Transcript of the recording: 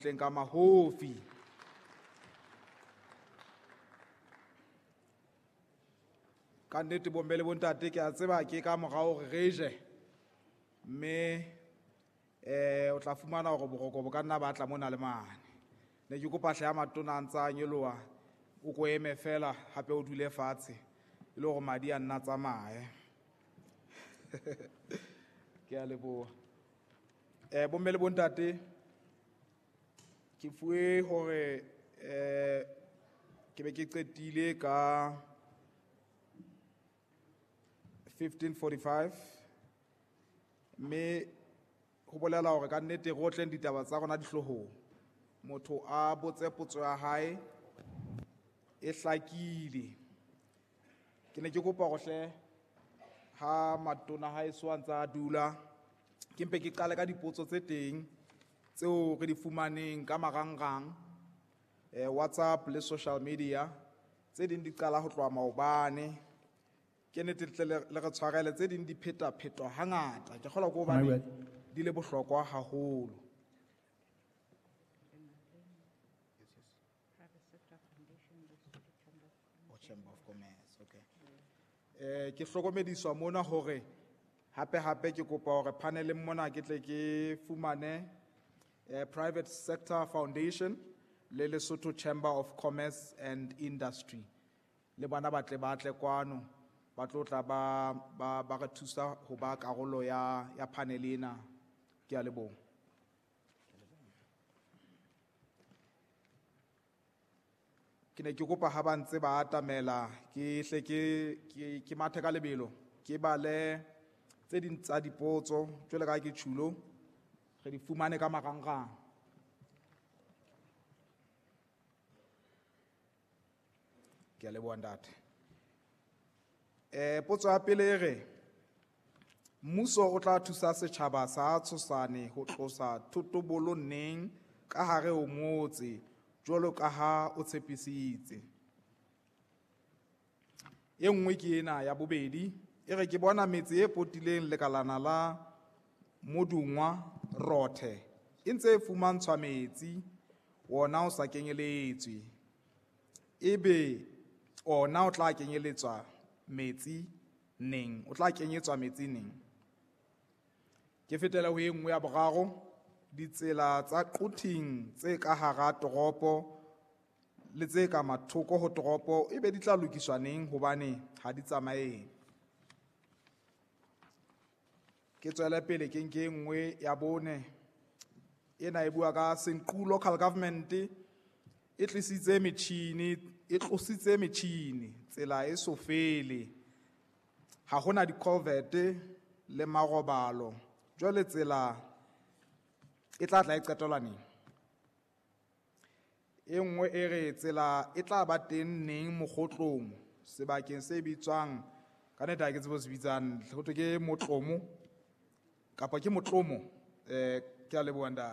Tleng ka mahofi. Ka nnete bomme le bontate ke a tseba ke ka morao hore re je, mme o tla fumana hore boroko bo ka nna ba tla mona le mane. Ne ke kopa hle ya matona a ntse a nyoloha, o ko eme fela hape o dule fatshe e le hore madi a nna tsamaye. Ke a leboha. Bomme le bontate, ke fuwe hore ke be ke qetile ka 15:45, mme ho bolela hore ka nnete re otleng ditaba tsa rona dihloohong. Motho a botse potso ya hae e hlakile. Ke ne ke kopa hore hle ha matona haeso a ntse a dula, ke mpe ke qale ka dipotso tse teng tseo re di fumaneng ka marangrang, WhatsApp le social media. Tse ding di qala ho tloha maobane. Ke nnete tle le re tshwarele, tse ding di phetaphetwa hangata. Ke kgolwa ke hobane di le bohlokwa haholo. Chamber of Commerce, okay. Ke hlokomediswa mona hore hape hape ke kopa hore paneleng mona ke tle ke fumane Private Sector Foundation le Lesotho Chamber of Commerce and Industry. Le bona ba tle ba tle kwano, ba tlo tla ba re thusa ho ba karolo ya panel ena. Ke a leboha. Ke ne ke kopa ha ba ntse ba atamela, ke hle ke mathe ka lebelo, ke bale tse ding tsa dipotso jwalo ka ha ke tjhulo, re di fumane ka marangrang. Ke a leboha ntate. Potso ya pele e re, mmuso o tla thusa setjhaba sa Tshosane ho tlosa thotobolo neng ka hare ho motse jwalo ka ha o tshepisitse? E nngwe ke ena ya bobedi, e re ke bona metse e potileng lekalana la Modungwa Rothe e ntse e fumantshwa metsi, wona o sa kenyeletswe. Ebe ona o tla kenyeletswa metsi neng? O tla kenyetswa metsi neng? Ke fetela ho e nngwe ya boraro, ditsela tsa Quthing tse ka hara toropo le tse ka mathoko ho toropo ebe di tla lokiswa neng hobane ha di tsamaye? Ke tswele pele ke nke e nngwe ya bone, ena e bua ka Senqu Local Government e tlisitse metjhini, e tlositse metjhini, tsela e so fele, ha hona di-culvert le marobalo, jwale tsela e tla tla e qetelwa neng? E nngwe e re tsela e tla ba teng neng Mokgotlong, sebakeng se bitswang, ka nnete ha ke tsebe ho se bitsang, ho thwe ke Motlomo kapa ke Motlomo? Ke a leboha ntate.